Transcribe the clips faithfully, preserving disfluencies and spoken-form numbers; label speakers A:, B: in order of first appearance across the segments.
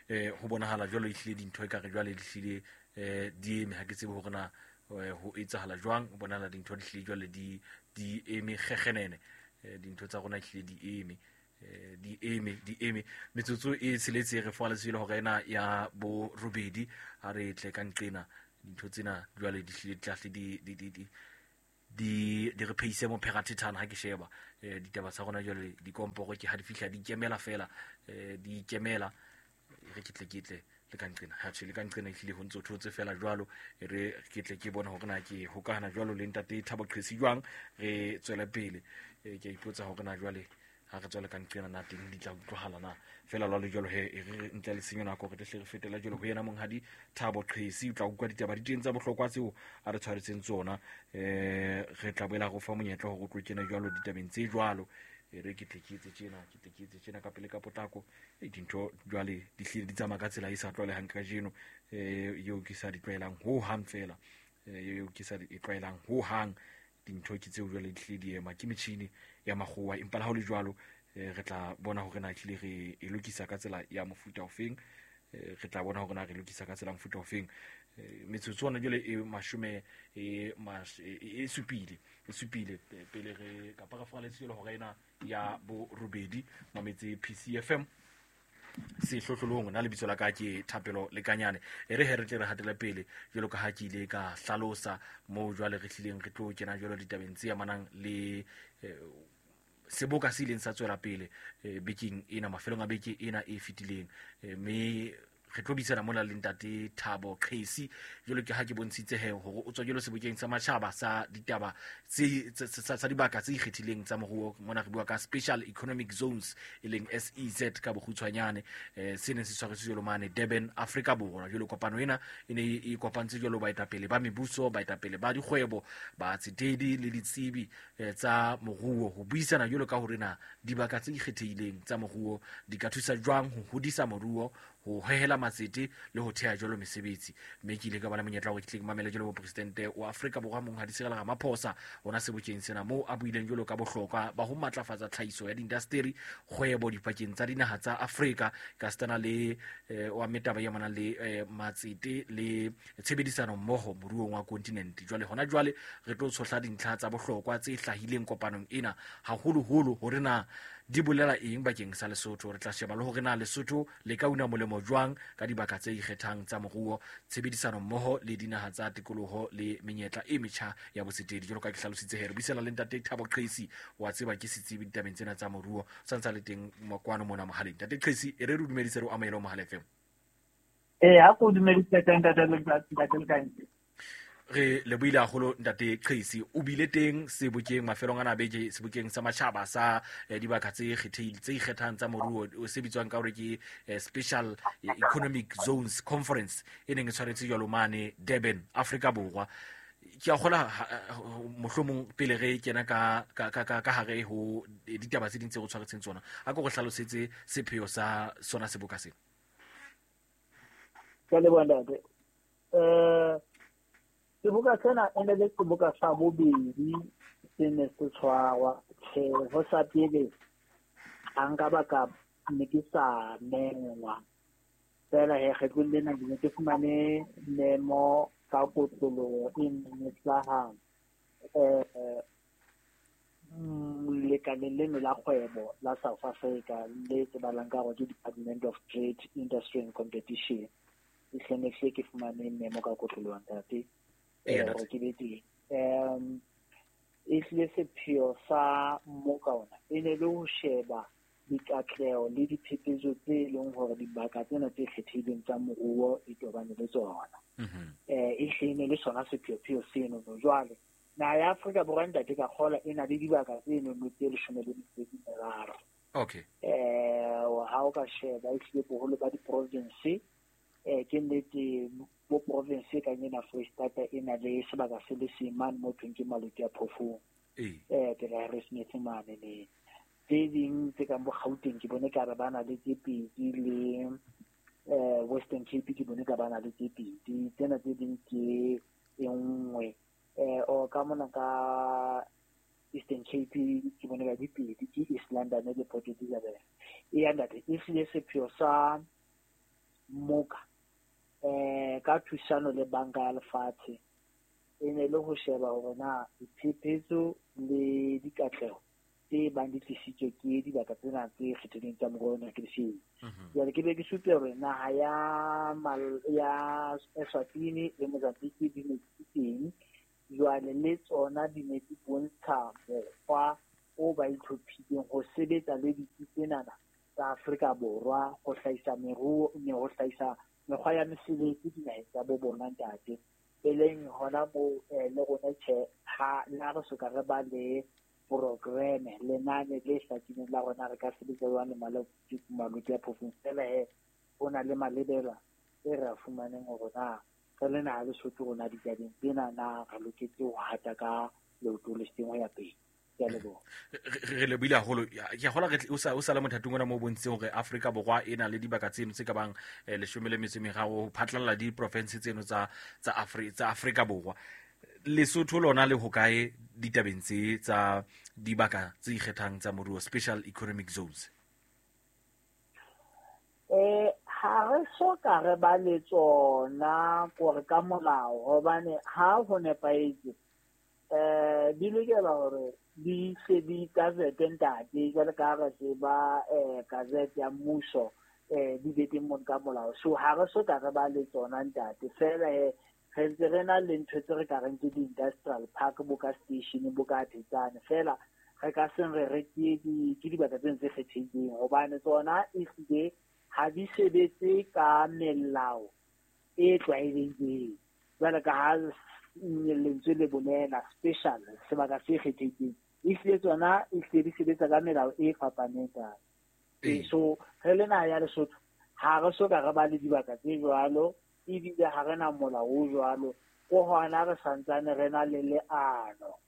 A: Eh ho bonahala jwalo ehlile dintho ekare jwale di hlile eh di eme, ha ke tsebe hore na ho etsahala jwang. Ho bonahala dintho di hlile jwale di di eme kgekgenene, dintho tsa rona ehlile di eme, di eme di eme. Metsotso e tsheletse re fa letswele hore ena ya bo robedi ha re tle ka nqena dintho tsena jwale di hlile tlahle di di di di di di re pheise mo pherathethana. Ha ke sheba ditaba tsa rona jwale dikomporo ke ha di fihla di ikemela fela, di ikemela. Re ke tle ke tle le ka nqena, ha tjhe le ka nqena ehlile ho ntso thotse fela jwalo. Re ke tle ke bone hore na ke hokahana jwalo le ntate Thabo Qhesi jwang, re tswele pele. Ke a ipotsa hore na jwale ha re tswele ka nqena na teng di tla utlwahala na fela lwalo jwalo. He e re ntle le senyo nako re tle re fetela jwalo ho yena monghadi Thabo Qhesi. O tla utlwa ditaba di teng tsa bohlokwa tseo a re tshwaretseng tsona. Eh re tla boela go fa monyetla hore o tlo kena jwalo ditabeng tse jwalo. E re ke tle ke etse tjena, ke tle ke etse tjena ka pele ka potlako. E dintho jwale di hlile di tsamaya ka tsela e sa tlwaelehang kajeno, eh eo ke sa di tlwaelang ho hang fela, eo ke sa di tlwaelang ho hang. Dintho ke tseo jwale di hlile di ema ke metjhini ya makgowa, empa le ha ho le jwalo re tla bona hore na ehlile re e lokisa ka tsela ya mofuta ofeng. Re tla bona hore na re lokisa ka tsela ya mofuta ofeng. Metsotso ona jwale e mashome e e supile e supile pele re kapa re fa letswele hore ena ya bo robedi mametse P C F M sehlohlolong. Nna lebitso la ka ke Thapelo Lekanyane. E re he re tle re hatele pele jwalo ka ha ke ile ka hlalosa moo jwale re hlileng re tlo kena jwalo ditabeng tse amanang le seboka se ileng sa tswela pele bekeng ena, mafelong a beke ena e fetileng. Mme re tlo buisana mona le ntate Thabo Qhesi jwalo ke ha ke bontshitse he hore o tswa jwalo sebokeng sa matjhaba sa ditaba tse tsa dibaka tse ikgethileng tsa moruo. Mona re bua ka Special Economic Zones e leng S E Z ka bokgutshwanyane, eh se neng se tshwaretswe jwalo mane Durban, Afrika Borwa. Jwalo kopano ena e ne e kopantse jwalo baetapele ba mebuso, baetapele ba dikgwebo, batsetedi le ditsebi tsa moruo ho buisana jwalo ka hore na dibaka tse ikgethileng tsa moruo di ka thusa jwang ho hodisa moruo, ho hehela matsete le ho theha jwalo mesebetsi. Mme ke ile ka ba le monyetla hore ke tle ke mamele jwalo mopresidente wa Afrika Borwa monghadi Cyril Ramaphosa ona sebokeng sena, moo a buileng jwalo ka bohlokwa ba ho matlafatsa tlhahiso ya diindasteri, kgwebo dipakeng tsa dinaha tsa Afrika ka setana le wa metaba ya manang le matsete le tshebedisano mmoho moruong wa kontinente. Jwale hona jwale re tlo tshohla dintlha tsa bohlokwa tse hlahileng kopanong ena, haholoholo hore na di bolela eng bakeng sa Lesotho. Re tla sheba le hore na Lesotho le ka una molemo jwang ka dibaka tse ikgethang tsa moruo, tshebedisano mmoho le dinaha tsa tikoloho le menyetla e metjha ya botsetedi. Jwalo ka ke hlalositse he re buisana le ntate Thabo Qhesi, wa tseba ke setsebi ditabeng tsena tsa moruo, sa ntsa le teng kwano mona mohaleng. Ntate Qhesi, e re re dumedise re o amohele ho Mohala F M.
B: Eh ha ko dumedise ntate ntate Lekanyane.
A: Re lebohile haholo ntate Qhesi. O bile teng sebokeng mafelong ana beke, sebokeng sa matjhaba sa dibaka tse kgethehileng tse ikgethang tsa moruo se bitswang ka hore ke Special Economic Zones Conference e neng e tshwaretswe jwalo mane Durban, Afrika Borwa. Ke a kgola mohlomong pele re kena ka ka ka ka hare ho ditaba tse ding tse re tshwaretseng tsona, a ko re hlalosetse sepheo sa sona seboka sena.
B: Ke leboha ntate. Eh seboka sena e ne le seboka sa bobedi se ne se tshwarwa. Tjhe, ho sa pele ha nka ba ka ne ke sa mengwa fela he kgetlong lena ke ne ke fumane memo ka kotloloho e neng e hlaha eh lekaleng leno la kgwebo la South Africa le tsebahalang ka hore ke Department of Trade, Industry and Competition. E hle ne hle ke fumane memo ka kotloloho ntate hore ke be teng. Um ehlile sepheo sa mmoka ona e ne le ho sheba dikatleho le diphephetso tse leng hore dibaka tsena tse kgethehileng tsa moruo di tobane le tsona. Eh e hle ne le sona sepheopheo seno. Jwale naha ya Afrika Borwa ntate ka kgola e na le dibaka tse nono tse leshome le metso e meraro.
A: Okay.
B: Eh ha o ka sheba ehlile boholo ba di-province eh ke nnete bo province ka ena Freistata e na le sebaka se le seng mane mo thweng ke Maluti a Phofung. Eh pela Harrismith mane le tse ding tse kang bo Gauteng ke bone ka re ba na le tse pedi le eh Western Cape ke bone ka ba na le tse pedi, tsena tse ding ke e nngwe. Eh o ka mona ka Eastern Cape ke bone ka di pedi ke East London le Port Elizabeth. E ya ntate e hlile sepheo sa mmoka eh ka thusano le banka ya lefatshe e ne le ho sheba hore na diphephetso le dikatleho tse bang di tlisitswe ke dibaka tsena tse kgethilweng tsa moruo na ke di jwale ke be ke supe hore naha ya ya Eswatini le Mozambique di ne di teng jwale le tsona di ne di bontsha mokgwa o ba itlhophileng ho sebetsa le ditsi tsenana tsa Afrika Borwa ho hlahisa meruo ne ho hlahisa mekgwa ya mesebetsi dinaheng tsa bo bona ntate e leng hona moo le rona tjhe ha la re soka re ba le programme lenane le hlakileng la rona re ka sebetsa jwang le maloko ya province fela he ho na le malebela e re a fumaneng hore na re le naha Lesotho rona ditabeng tsena na re loketse ho hata ka leoto le seng ho ya pele.
A: Re lebohile haholo. Ke a kgolwa re o sa o sa le mothating ona mo bontshitseng hore Afrika Borwa e na le dibaka tseno tse ka bang leshome le metso e meraro ho phatlalla diprovince tseno tsa tsa Afrika tsa Afrika Borwa. Lesotho lona le hokae ditabeng tse tsa dibaka tse ikgethang tsa moruo, special economic zones?
B: Eh ha re so ka re ba le tsona kore ka molao hobane ha ho nepahetse eh di lokela hore di se di gazette ntate jwale ka re tseba eh gazette ya mmuso eh di be teng mon ka molao. So ha re so ka re ba le tsona ntate fela he re ntse re na le ntho tse re ka reng ke di-industrial park bo ka station bo ka Thetsane fela re ka seng re re ke di ke dibaka tse ntse kgethehileng hobane tsona ehlile ha di sebetse ka melao e tlwaelehileng jwale ka ha lentswe le bolela special sebaka se kgethehileng ehlile tsona ehlile di sebetsa ka melao e fapaneng ka so re le naha ya Lesotho ha re so ka re ba le dibaka tse jwalo ebile ha re na molao o jwalo ko hona re santsane re na le leano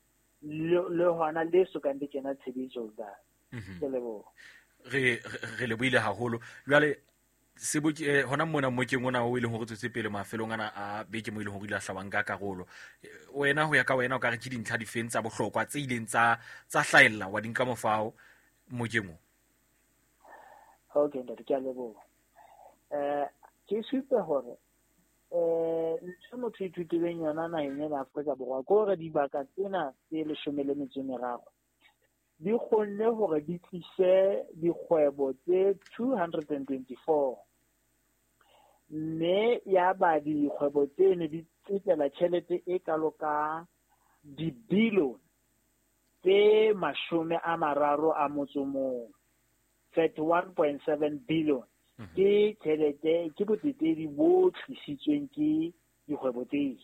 B: le hona le sokang le kena tshebetsong ka ke leboha.
A: Re re lebohile haholo. Jwale seboke hona mona mmokeng ona o e leng hore tswetse pele mafelong ana a beke mo e leng hore ile a hlabang ka karolo, wena ho ya ka wena o ka re ke dintlha difeng tsa bohlokwa tse ileng tsa tsa hlahella wa di nka mofao mmokeng o?
B: Okay ntate, ke a leboha. Eh ke supe hore eh ntho motho ithutileng yona naheng ena Afrika Borwa ke hore dibaka tsena tse leshome le metso e meraro di kgonne hore di tlise dikgwebo tse two hundred and twenty-four mme ya ba dikgwebo tseno di tsetela tjhelete e kalo ka dibilione tse mashome a mararo a motso mong, thirty-one point seven billion. Ke tjhelete ke botsetedi bo tlisitsweng ke dikgwebo tseo.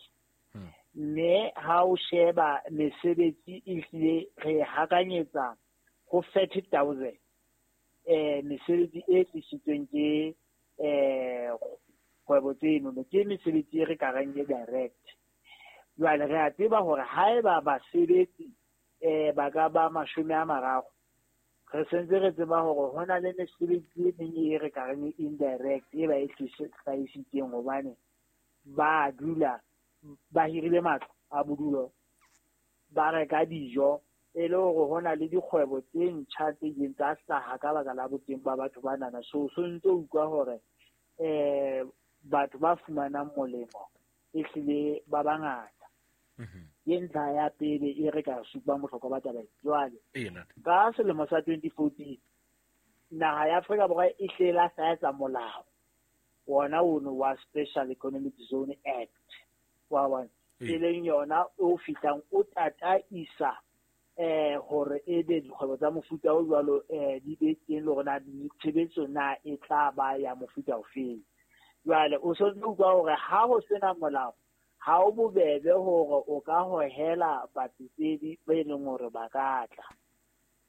B: Mme ha o sheba mesebetsi ehlile re hakanyetsa ho thirty thousand eh mesebetsi e tlisitsweng ke eh kgwebo tseno ke mesebetsi e re ka reng e direct. Jwale re a tseba hore haeba basebetsi eh ba ka ba mashome a mararo re sentse re tseba hore ho na le mesebetsi e meng e re ka reng indirect e ba e hlahisitseng hobane ba dula ba hirile matlo a bodulo ba reka dijo e le hore ho na le dikgwebo tse ntjha tse ileng tsa hlaha ka baka la boteng ba batho ba nana. So so ntse utlwa hore eh batho ba fumanang molemo ehlile ba bangata. Ke ntlha ya pele e re ka supang bohlokwa ba taba jwale. Ka selemo sa twenty fourteen naha ya Afrika Borwa e hlela sa etsa molao wona ono wa Special Economic Zone Act wa bona e leng yona o fihlang o tataisa eh hore e be dikgwebo tsa mofuta o jwalo eh di be teng le hore na tshebetso na e tla ba ya mofuta ofeng. Jwale o so utlwa hore ha ho sena molao ha o bobebe hore o ka hohela batsetedi ba e leng hore ba ka tla.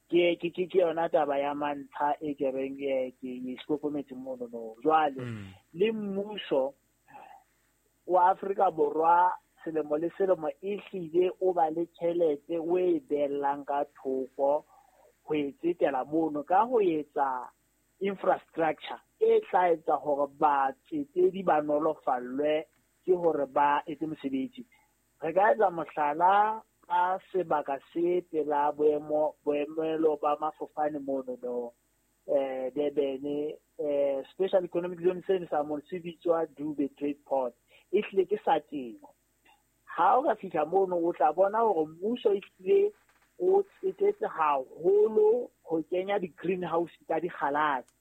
B: Ke ke ke yona taba ya mantlha e ke reng ke e hlokometse mono no. Jwale le mmuso wa Afrika Borwa selemo le selemo ehlile o ba le tjhelete o e beellang ka thoko ho e tsetela mono ka ho etsa infrastructure e tla etsa hore batsetedi ba nolofallwe ke hore ba etse mosebetsi. Re ka etsa mohlala ka sebaka se pela boemo boemelo ba mafofane mono no eh Durban eh Special economic zone seno sa mono se bitswa Dube Trade Port, e hlile ke sa temo. Ha o ka fihla mono o tla bona hore mmuso e hlile o tsetetse haholo ho kenya di-greenhouse tsa dikgalase,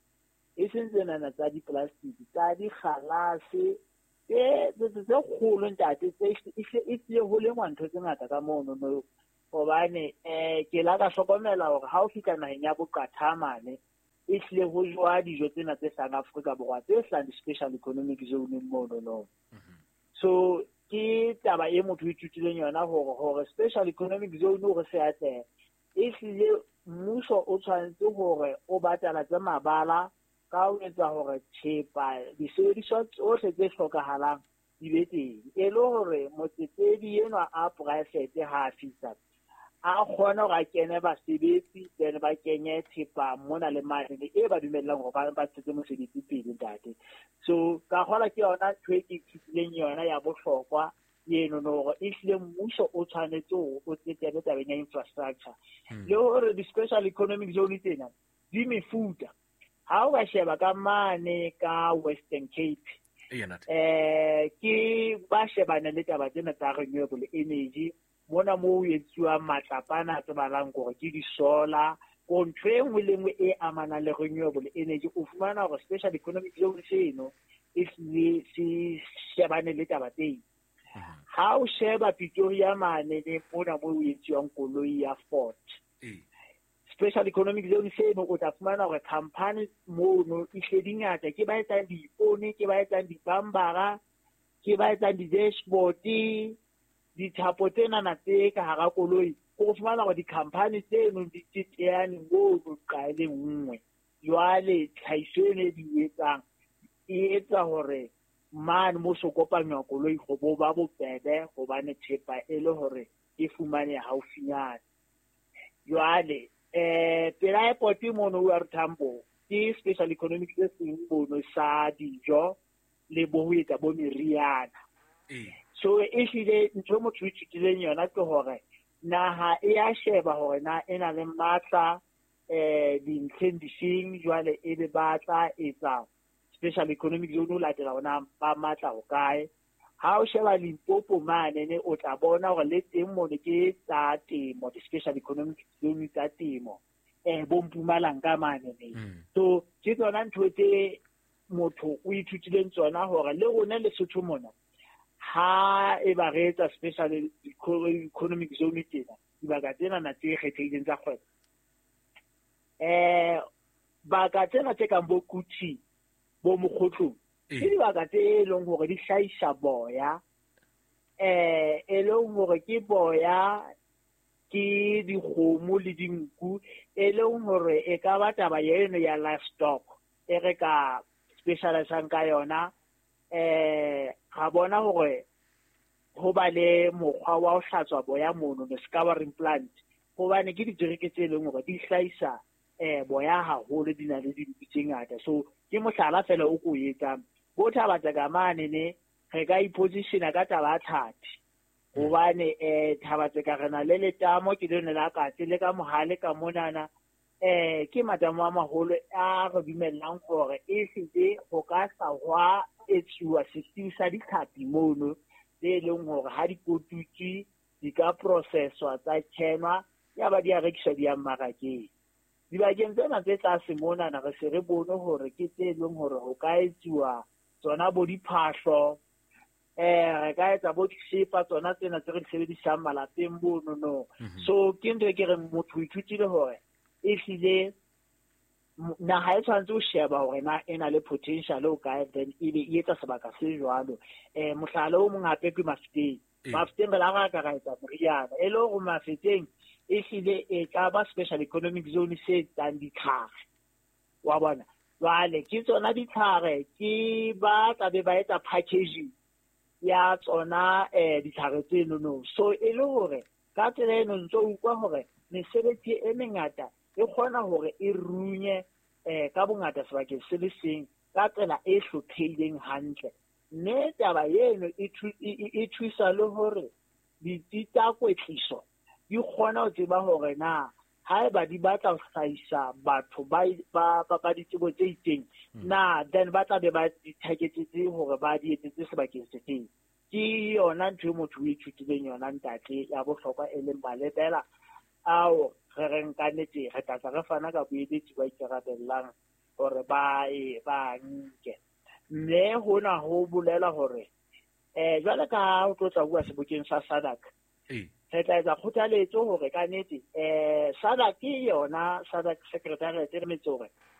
B: e seng tsenana tsa di-plastic, tsa dikgalase tse tse kgolo ntate, tse e hlile ho lengwa ntho tse ngata ka mono no. Hobane eh ke la ka hlokomela hore ha o fihla naheng ya boqatha mane, e hlile ho jowa dijo tsena tse hlahang Afrika Borwa tse hlahang di-special economic zone mono no. So ke taba e motho o ithutileng yona hore hore special economic zone hore se atlehe, e hlile mmuso o tshwanetse hore o batalatse mabala ka ho etsa hore thepa disebediswa tsohle tse hlokahalang di be teng, e le hore motsetedi enwa a poraefete ha a fihla a kgone hore a kene basebetsi, then ba kenye thepa mona le mane e ba dumellang hore ba ba tshetse mosebetsi pele ntate. So ka kgola ke yona ntho e ke ithutileng yona ya bohlokwa eno no, hore ehlile mmuso o tshwanetse hore o tsetele tabeng ya infrastructure, le hore di-special economic zone tsena di mefuta. Ha o ka sheba ka mane ka Western Cape, eh ke ba shebane le taba tsena tsa renewable energy, mona moo ho etsuwang matlapana a tsebahalang hore ke di-solar, ko ntho e nngwe le nngwe e amanang le renewable energy, o fumana hore special economic zone seno e hlile se shebane le taba teng. Ha o sheba Pretoria mane le mona moo ho etsuwang koloi ya Ford, special economic zone seno o tla fumana hore company mono e hle di ngata, ke ba etsang diipone, ke ba etsang dibambara, ke ba etsang di-dashboard, dithapo tsenana tse ka hara koloi. O fumana hore di-company tseno di teteane mono nqa e le nngwe. Jwale tlhahiso eno e di etsang e etsa hore mane mo so kopanywa koloi ho bo ba bobebe, hobane thepa e le hore e fumaneha haufinyana. Jwale eh pela airport mono O R Tambo ke special economic se seng mono sa dijo le bo ho etsa bo meriana. So e hlile ntho motho o ithutileng yona ke hore naha e a sheba hore na e na le matla eh dintlheng difeng, jwale e be ba tla etsa special economic zone ho latela hore na ba matla ho kae. Ha o sheba Limpopo mane ne o tla bona hore le teng mono ke tsa temo, di-special economic zone tsa temo, eh bo Mpumalanga mane ne. So ke tsona ntho tse motho o ithutileng tsona hore le rona Lesotho mona ha e ba re etsa special economic zone tsena, dibaka tsena na tse kgethehileng tsa kgwebo, eh baka tsena tse kang bo Kuti, bo Mokgotlong, ke dibaka tse leng hore di hlahisa boya, eh e leng hore ke boya ke dikgomo le dinku, e leng hore e ka ba taba eno ya livestock e re ka specialisang ka yona. Eh ga bona hore ho ba le mokgwa wa ho hlatswa boya mono, the scouring plant, hobane ke dijereke tse leng hore di hlahisa eh boya haholo, di na le dinku tse ngata. So ke mohlala fela o ko etsang bo Thabatseka mane ne re ka ipositiona ka taba ya tlhapi, hobane eh Thabatseka re na le letamo ke lone la Katse le ka mohale ka monana, eh ke matamo a maholo a re dumellang hore e hlile ho ka hlahwa etsuwa setsi sa ditlhapi mono tse leng hore ha di kotutswe di ka processwa tsa kenwa ya ba di a rekiswa di ya mmarakeng. Dibakeng tsena tse tlase monana re se re bone hore ke tse leng hore ho ka etsuwa tsona bo diphahlo, eh re ka etsa bo disepa tsona tsena tse re di sebedisang malapeng mono no. So ke ntho e ke reng motho o ithutile hore e hlile naha e tshwanetse ho sheba hore na e na le potential o kae, then e be e etsa sebaka se jwalo. Eh mohlala o mong hape ke Mafeteng. Mafeteng re la ra ka ra etsa moriana, e le hore Mafeteng e hlile e ka ba special economic zone se etsang ditlhare, wa bona. Jwale ke tsona ditlhare ke ba tla be ba etsa packaging ya tsona eh ditlhare tseno no. So e le hore ka tsela eno ntso utlwa hore mesebetsi e mengata e kgona hore e runye eh ka bongata sebakeng se le seng ka tsela e hlophehileng hantle. Mme taba eno e thusa le hore ditsi tsa kwetliso di kgona ho tseba hore na Haeba di batla ho hlahisa batho ba ba ba ditsebo tse itseng, na then ba tla be ba di targetetse hore ba di etsetse sebakeng se feng? Ke yona ntho e motho o ithutileng yona, ntate, ya bohlokwa, e leng malebela ao re reng ka nnete re tla tla re fana ka boeletsi ba ikarabellang hore ba e ba nke. Mme hona ho bolela hore eh jwale ka ha o tlo tla bua sebokeng sa SADC, re tla etsa kgothaletso hore ka nnete eh SADC ke yona, SADC Secretariat, re metse hore